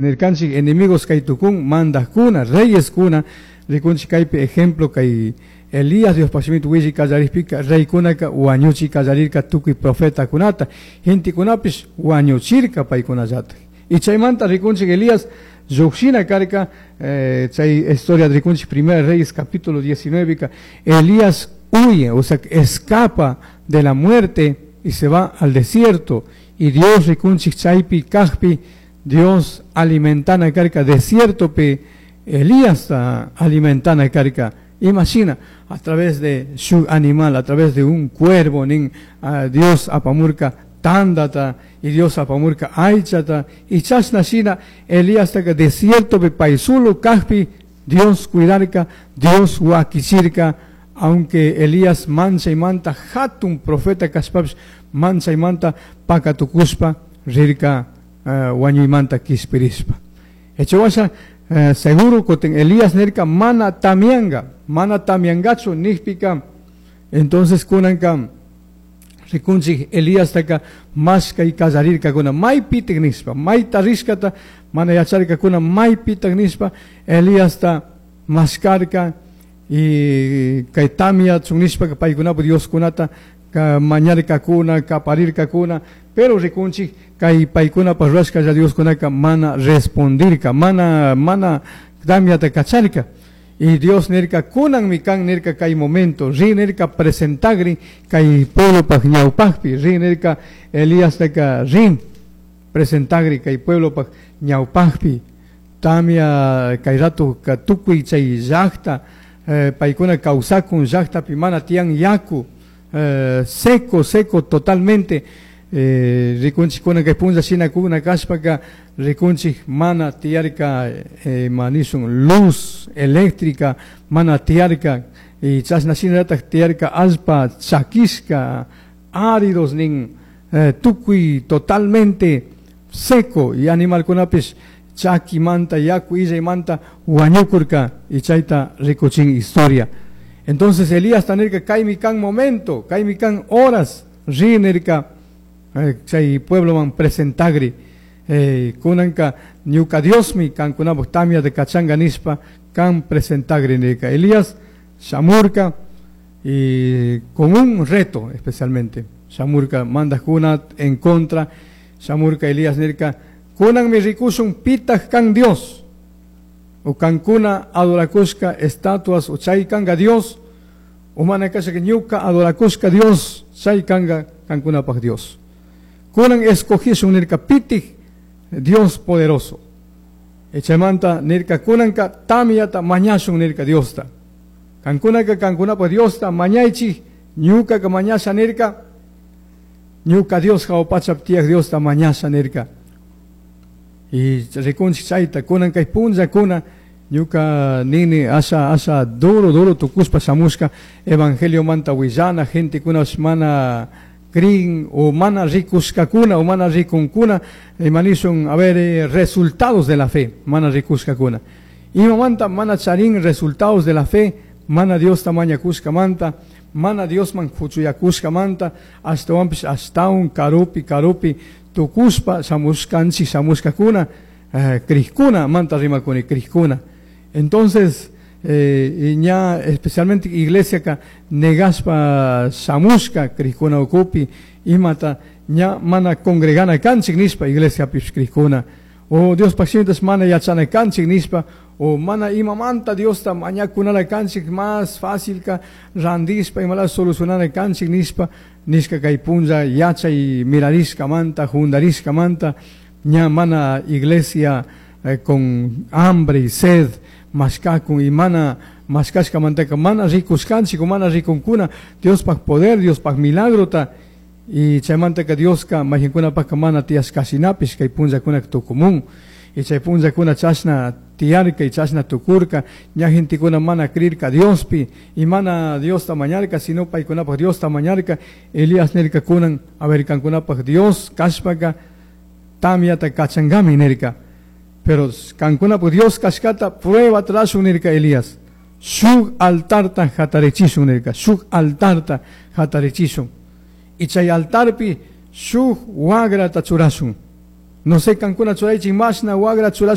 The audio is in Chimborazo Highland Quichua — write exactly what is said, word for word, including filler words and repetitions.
Nirkanchik enemigos kay tukun mandajkuna reyeskuna rikunchik kaypi ejemplo kay Elías Diospaj shimita willi kallarikpika reykunaka wañuchi kallarirka tukuy profetakunata gentekunapish wañuchirka paykunallatak y chaymanta rikunchik Elías llukshina karka eh, chay historia rikunchik Primera Reyes capítulo diecinueve ka Elías huye, o sea, escapa de la muerte y se va al desierto y Dios rikunchik chaypi kajpi Dios alimentana karka desierto pe Elías alimentana karka. Imagina, a través de su animal, a través de un cuervo, nin, uh, Dios apamurka tandata y Dios apamurka aychata y chashna shina Elías taka desierto pe paysolo kajpi Dios cuidarka, Dios wakichirka, aunque Elías mancha y manta hatun profeta kashpapish mancha y manta pakatukushpa rirka uh, wañuymanta kishpirishpa. Echawasha uh, seguro kutin Elías nirka mana tamianga, mana tamiangachu nijpika, entonces kunanka rikunchik Elías taka mashkay kallarirkakuna maypitik nishpa, mayta rishkata mana yacharkakuna maypitak nishpa Elíasta mashkarka y kay tamyachun nishpa paykunapak Dioskunata ka mañarkakuna, kaparirkakuna, pero rikunchik kay paykunapak rurashkalla Dioskunaka mana respondirka, mana mana tamyata kacharka. Y Dios nirka kunanmi kan nirka kay momento, ri nirka presentagri kay pueblopaj ñawpajpi, ri nirka Elías taka rin presentagri kay pueblopaj ñawpajpi, tamya kay rato ka tukuy chay llaqta, eh, paykuna kawsakun llaqtapi mana tiyan yaku, eh, seco, seco totalmente, eh, rikunchik kuna kay punlla shina kuna kashpaka rikunchik mana tiyarka eh, manishun luz eléctrica mana tiyarka y chashna shinallatak tiyarka allpa chakishka áridos nin eh, tukuy totalmente seco y animalkunapish chakimanta yaku illaymanta wañukurka y chayta rikuchin historia. Entonces Elías nirka kaymi kan momento, kaymi kan horas ri nirka eh, chay puebloman presentagri eh, kunanka ñuka Diosmi kankunapak tamyata kachanga nishpa kan presentagri nirka. Elías shamurka y con un reto especialmente shamurka mandajkuna en contra shamurka Elías nirka kunanmi rikushun pitaj kan Dios o kankuna adorakushka estatuas o chay kanga Dios o mana kashaka ñuka adorakushka Dios chay kanga kankunapaj Dios. Kunan escogishun nirka pitij Dios poderoso. Echaymanta nirka kunanka tamyata mañashun nirka Diosta. Kankunaka kankunapaj Diosta mañaychik ñukaka mañasha nirka ñuka Dios jahua pachapi tiyaj Diosta mañasha nirka. Y rikunchik chayta kunan kay punllakuna ñuka nini asha asha duro duro tukushpa shamushka evangeliomanta willana gentekunapish mana crin o mana rikushkakuna o mana rikunkuna imanishun a ver eh, resultados de la fe mana rikushkakuna imamanta mana charin resultados de la fe mana Diosta mañakushkamanta mana Diosman kuchuyakushkamanta ashtawanpish ashtawan karupi karupi tukushpa shamushkanchik shamushkakuna eh, crijkuna manta rimakuni crijkuna. Entonces eh, ña especialmente iglesia ka negashpa shamushka crijkuna ukupi imata ña mana congregana kanchik nishpa iglesiapish crijkuna o Diospaj shimitash mana yachana kanchik nishpa o mana imamanta Diosta mañakunala kanchik más fácil ka randishpa imala solucionana kanchik nishpa nishka kay punlla yachay mirarishkamanta jundarishkamanta ña mana iglesia eh, con hambre y sed mashkakun y mana mashkashkamantaka mana rikushkanchik o mana rikunkuna Diospaj poder, Diospaj milagrota y chaymantaka Dioska mayqinkunapajka mana tiyashkashinapish kay punllakunaka tukumun y chay punllakuna chashna tiyarka y chashna tukurka ña gentekuna mana crirka Diospi y mana Diosta mañarka sino paykunapaj Diosta mañarka. Elías nirka kunan a ver kankunapaj Dios kashpaka tamyata kachankami nirka, pero kankunapaj Dios kashkata prueba rurashun nirka Elías shuk altarta hatarichishun nirka, shuk altarta hatarichishun y chay altarpi shuk wagrata churashun No sé, cancuna churaichik mashna wagra churashpa.